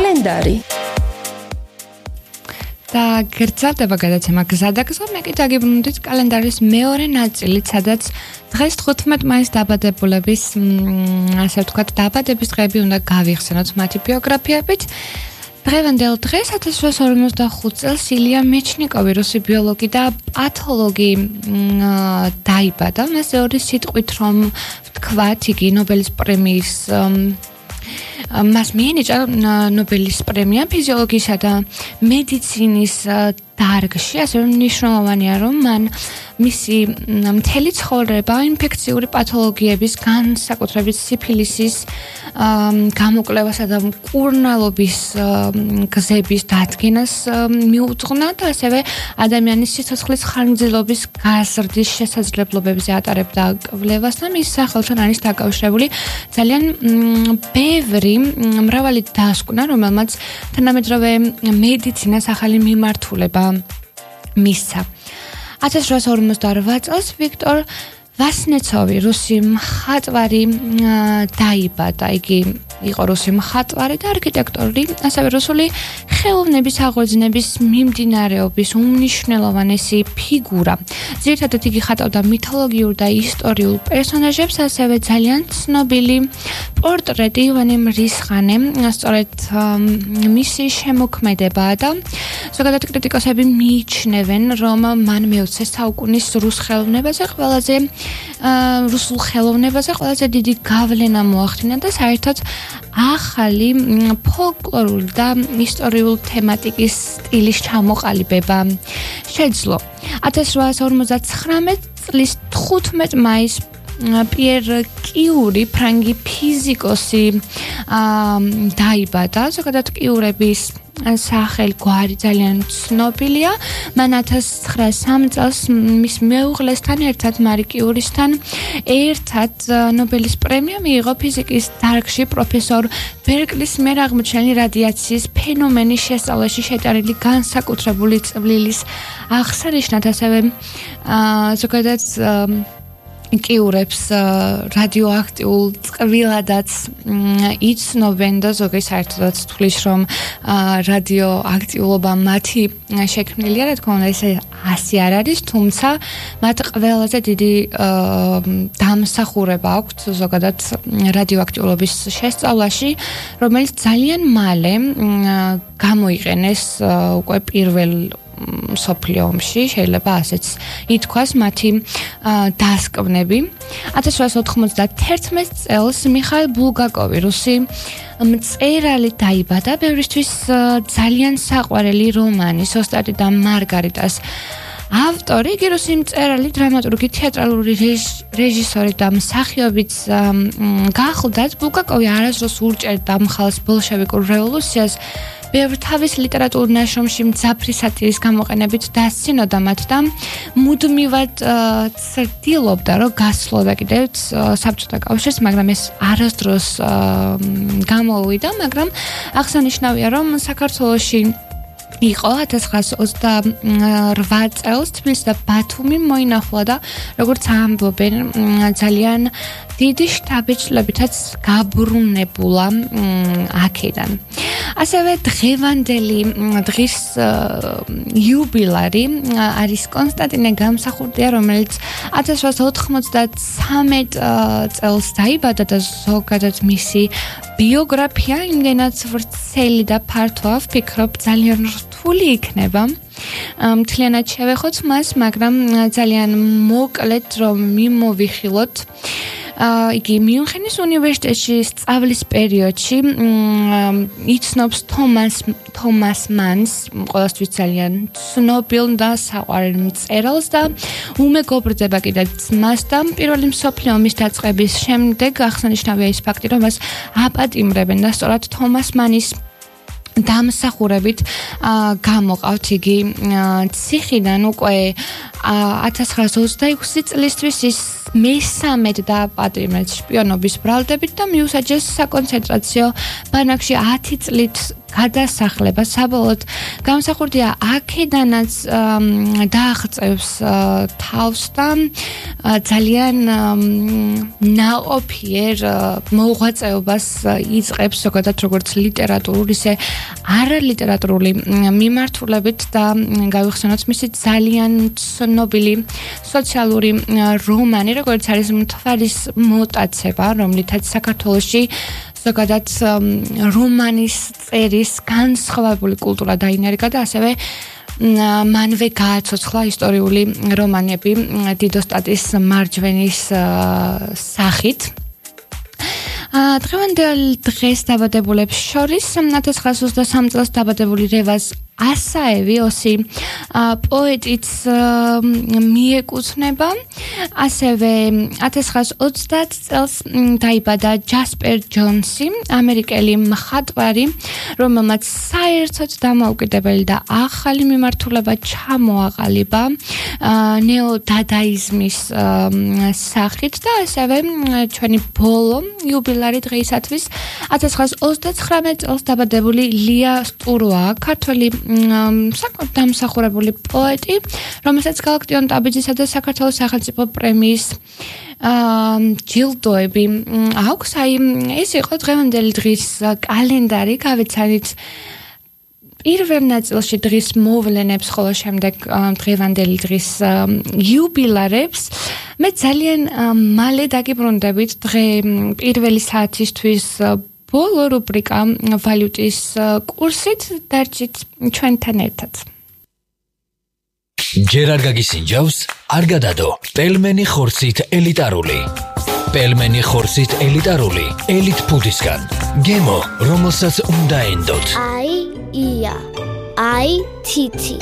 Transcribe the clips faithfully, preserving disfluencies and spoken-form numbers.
კალენდარი და გრძელდება გადაცემა გზადაგზა, მე კი დაგიბრუნდით კალენდარის მეორე ნაწილით, სადაც დღეს თხუთმეტ მაისს დაბადებულების, ასე ვთქვათ, დაბადების დღეები უნდა გავიხსენოთ მათი ბიოგრაფიებით. დღევანდელ დღეს ათას რვაასი ორმოცდახუთ წელს ილია მეჩნიკოვი, რუსი ბიოლოგი და პათოლოგი დაიბადა. მას ორი სიტყვით რომ ვთქვათ, იგი ნობელის პრემიის მას მიენიჭა ნობელის პრემია ფიზიოლოგიისა და მედიცინის დარგში, ასევე მნიშვნელოვანია, რომ მან მისი მთელი ცხოვრება ინფექციური პათოლოგიების, განსაკუთრებით სიფილისის გამოკვლევასა და მკურნალობის გზების დადგენას მიუძღვნა და ასევე ადამიანის სიცოცხლის ხანგრძლივობის გაზრდის შესაძლებლობებზე ატარებდა კვლევას და მის სახელთან არის დაკავშირებული ძალიან ბევრი მრავალი დასკვნა, რომელმაც თანამედროვე მედიცინას ახალი მიმართულება მისცა. ათას რვაასი ორმოცდაორვე წელს ვიქტორ ვასნეცოვი, რუსი მხატვარი დაიბადა. იგი იყო რუსი მხატვარი და არქიტექტორი, ასევე რუსული ხელოვნების აღორძინების მიმდინარეობის უმნიშვნელოვანესი ფიგურა. ძირითადად იგი ხატავდა მითოლოგიურ და ისტორიულ პერსონაჟებს, ასევე ძალიან ცნობილი პორტრეტი ივანე მრისხანე, სწორედ მისი შემოქმედებაა და ზოგადად კრიტიკოსები მიიჩნევენ, რომ მან მეოცე საუკუნის რუს ხელოვნებაზე ყველაზე რუსულ ხელოვნებაზე ყველაზე დიდი გავლენა მოახდინა და საერთოდ ახალი ფოლკლორული და ისტორიული თემატიკის სტილის ჩამოყალიბება შეძლო. ათას რვაასი ორმოცდაცხრამეტ წლის თხუთმეტ მაისს პიერ კიური, ფრანგი ფიზიკოსი დაიბადა. ზოგადად კიურების სახელი გვარი ძალიან ცნობილია. მან ათას ცხრაასი სამი წელს მის მეუღლესთან ერთად, მარი კიურისთან ერთად ნობელის პრემია მიიღო ფიზიკის დარგში პროფესორ ბერკლის მიერ აღმოჩენილი რადიაციის ფენომენის შესწავლაში შეტანილი განსაკუთრებული წვლილის აღსანიშნად, ასევე ზოგადად კიურებს რადიოაქტიულ წყვილადაც იცნობენ და ზოგი საერთოდაც თვლის, რომ რადიოაქტიულობა მათი შექმნილია, რა თქმა უნდა, ეს ასე არ არის, თუმცა მათ ყველაზე დიდი დამსახურება აქვთ ზოგადად რადიოაქტიულობის შესწავლაში, რომელიც ძალიან მალე გამოიყენეს უკვე პირველ მსოფლიო ომში, შეიძლება ასეც ითქვას მათი დასკვნები. ათას რვაასი ოთხმოცდაათი წელს მიხაილ ბულგაკოვი, რუსი მწერალი დაიბადა. ბევრისთვის ძალიან საყვარელი რომანის ოსტატი და მარგარიტას ავტორი, იგი რუსი მწერალი, დრამატურგი, თეატრალური რეჟისორი და მსახიობიც გახლდათ. ბულგაკოვი არასდროს ურჭერდა მხალს ბოლშევიკურ რევოლუციას, ბევრ თავის ლიტერატურულ ნაშრომში მძაფრი სატირის გამოყენებით დასცინოდა მათ და მუდმივად ცდილობდა, რომ გასვლოდა კიდევ საბჭოთა კავშირს, მაგრამ ეს არასდროს გამოუვიდა, მაგრამ აღსანიშნავია, რომ საქართველოში იყო ათას ცხრაასი ოცდარვა წელს თბილისი და ბათუმი მოინახულა და როგორც ამბობენ, ძალიან დიდი შთაბეჭდილებითაც გაბრუნებულა აქედან. ასევე დღევანდელი დღის იუბილარი არის კონსტანტინე გამსახურდია, რომელიც ათას რვაასი ოთხმოცდაცამეტ წელს დაიბადა და ზოგადად მისი ბიოგრაფია იმდენად ვრცელი და ფართოა, ვფიქრობ ძალიან რთული იქნება მთლიანად შევეხოთ მას, მაგრამ ძალიან მოკლედ რომ მიმოვიხილოთ. იგი მიუნხენის უნივერსიტეტში სწავლის პერიოდში იცნობს თომას თომას მანს, ყველასთვის ძალიან ცნობილ და საყვარელ მწერალს და უმეგობრდება კიდე ძმას და პირველი მსოფლიო ომის დაწყების შემდეგ აღსანიშნავია ის ფაქტი, რომ მას აპატიმრებენ და სწორად თომას მანის დამსახურებით გამოყავთ იგი ციხიდან უკვე ათას ცხრაას ოცდაექვსი წლისთვის ის მესამედ დააპატიმრეთ შპიონობის ბრალდებით და მიუსაჯეს საკონცენტრაციო ბანაკში ათი წლით გადასახლება. საბოლოოდ გამსახურდია აქედანაც დააღწევს თავს და ძალიან ნაყოფიერ მოღვაწეობას იწყებს ზოგადად როგორც ლიტერატურული, ისე არალიტერატურული მიმართულებით და გავიხსენოთ მისი ძალიან ცნობილი სოციალური რომანი, როგორც არის მთვარის მოტაცება, რომლითაც საქართველოში ზოგადად რომანის წერის განსხვავებული კულტურა დაინერგა და ასევე მანვე გააცოცხლა ისტორიული რომანები დიდოსტატის მარჯვენის სახით. დღევანდელ დღეს დაბადებულებს შორის ათას ცხრაას ოცდასამი წელს დაბადებული რევაზ ასაევი ოსი პოეტიც მიეკუთვნება. ასევე ათას ცხრაას ოცდაათ წელს დაიბადა ჯასპერ ჯონსი, ამერიკელი მხატვარი, რომელმაც საერთოდ დამოუკიდებელი და ახალი მიმართულება ჩამოაყალიბა ნეოდადაიზმის სახით და ასევე ჩვენი ბოლო იუბილარი დღეისათვის ათას ცხრაას ოცდაცხრამეტ წელს დაბადებული ლია სტუროა, ქართველი საკმაოდ დამსახურებული პოეტი, რომელსაც გალაქტიონ ტაბიძისა და საქართველოს სახელმწიფო პრემიის ჯილდოები აქვს. აი ეს იყო დღევანდელი დღის კალენდარი, გავეცანით პირველ ნაწილში დღის მოვლენებს, ხოლო შემდეგ დღევანდელი დღის იუბილარებს. მე ძალიან მალე დაგიბრუნდებით დღე პირველი საათისთვის ბოლო რუბრიკა ვალუტის კურსით, დარჩით ჩვენთან ერთად. ჯერ არ გაგისინჯავს, არ გადადო. პელმენი ხორცით ელიტარული. პელმენი ხორცით ელიტარული, ელიტ ფუდისგან. გემო, რომელსაც უნდა ენდოთ. აი, ია. აი, თითი.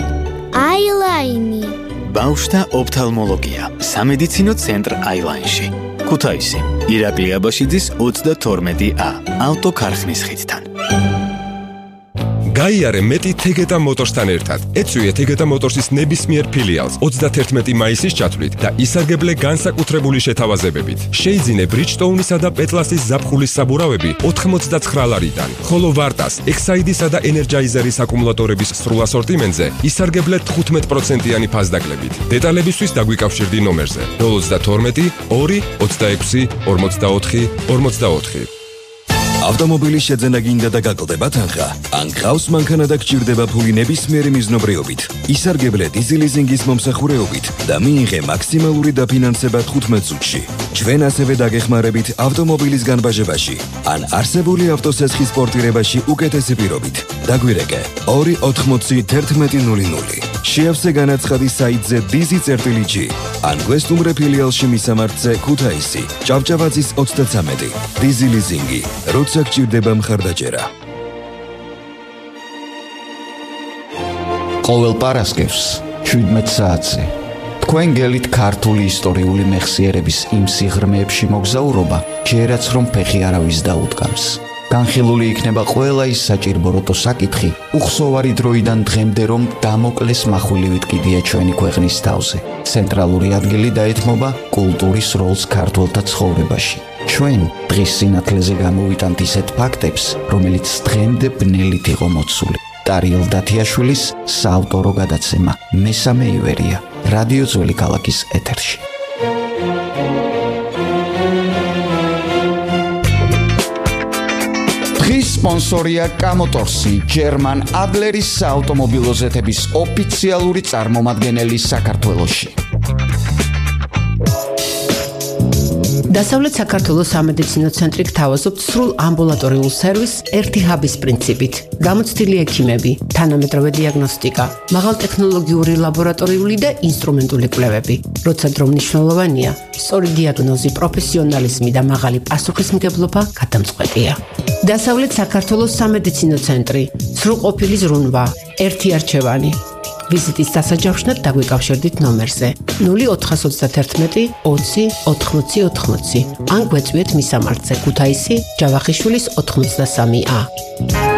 აი, ლაინი. ბავშვთა ოფთალმოლოგია. სამედიცინო ცენტრ აილაინში. ქუთაისი, ირაკლი აბაშიძის ოცდათორმეტი ა, ავტოქარხნის ხიდთან. გაიარე მეტი თეგეტა მოტორსთან ერთად. ეწვიეთ თეგეტა მოტორსის ნებისმიერ ფილიალს ოცდათერთმეტი მაისის ჩათვლით და ისარგებლე განსაკუთრებული შეთავაზებებით. შეიძინე ბრიჯტოუნისა და პეტლასის ზაფხულის საბურავები ოთხმოცდაცხრა ლარიდან, ხოლო ვარტას, ექსაიდისა და ენერჯაიზერის აკუმულატორების სრულ ასორტიმენტზე ისარგებლე თხუთმეტ პროცენტიანი ფასდაკლებით. დეტალებისთვის დაგვიკავშირდი ნომერზე ნულ ოცდათორმეტი ორი ოცდაექვსი ორმოცდაოთხი ორმოცდაოთხი. ავტომობილის შეძენა გინდა და გაკლდება თანხა. ან გყავს მანქანა და გჭირდება ფული ნებისმიერი მიზნობრიობით. ისარგებლე დიზელიზინგის მომსახურეობით და მიიღე მაქსიმალური დაფინანსება თხუთმეტ წუთში. ჩვენ ასევე დაგეხმარებით ავტომობილის განბაჟებაში ან არსებული ავტოსესხის პორტირებაში უკეთესი პირობით. დაგვირეკე ორი ოთხმოცი თერთმეტი ნული ნული. შეავსე განაცხადი საიტზე დიზი წერტილი ჯი ან გვესტუმრე ფილიალში მისამართზე ქუთაისი, ჭავჭავაძის ოცდაცამეტი. დიზი ლიზინგი, როცა გჭირდება მხარდაჭერა. ყოველ პარასკევს შვიდმეტ საათზე თქვენ გელით ქართული ისტორიული მეხსიერების იმ სიღრმეებში მოგზაურობა, ჯერაც რომ ფეხი არავის დაუდგამს. განხილული იქნება ყველა ის საჭირბოროტო საკითხი, უხსოვარი დროიდან დღემდე რომ დამოკლეს מחვილივით კიდია ჩვენი ქვეყნის თავზე. ცენტრალური ადგილი დაეთმობა კულტურის როლს ქართველთა ცხოვრებაში. ჩვენ დღის სინათლეზე გამოვიტანთ ისეთ ფაქტებს, რომელიც დღემდე ბნელით იყო მოცული. ტარიელ დათიაშვილის საავტორო გადაცემა მესამე ივერია, რადიო ძველი ქალაქის ეთერში. დღის სპონსორია კამოტორსი, ჯერმან ადლერის საავტომობილო ზეთების ოფიციალური წარმომადგენელი საქართველოში. დასავლეთ საქართველოს სამედიცინო ცენტრი გთავაზობთ სრულ ამბულატორიულ სერვისს ერთი ჰაბის პრინციპით. გამოცდილი ექიმები, თანამედროვე დიაგნოსტიკა, მაღალტექნოლოგიური ლაბორატორიული და ინსტრუმენტული კვლევები. როცა დრო მნიშვნელოვანია, სწორი დიაგნოზი, პროფესიონალიზმი და მაღალი პასუხისმგებლობა გადამწყვეტია. დასავლეთ საქართველოს სამედიცინო ცენტრი, სრულყოფილი ზრუნვა, ერთი არჩევანი. ვიზიტის დასაჯავშნად დაგვიკავშირდით ნომერზე ნული ოთხსოცდათერთმეტი ოცი ოთხმოცი ოთხმოცი ან გვეწვიეთ მისამართზე ქუთაისი, ჯავახიშვილის ოთხმოცდასამი ა.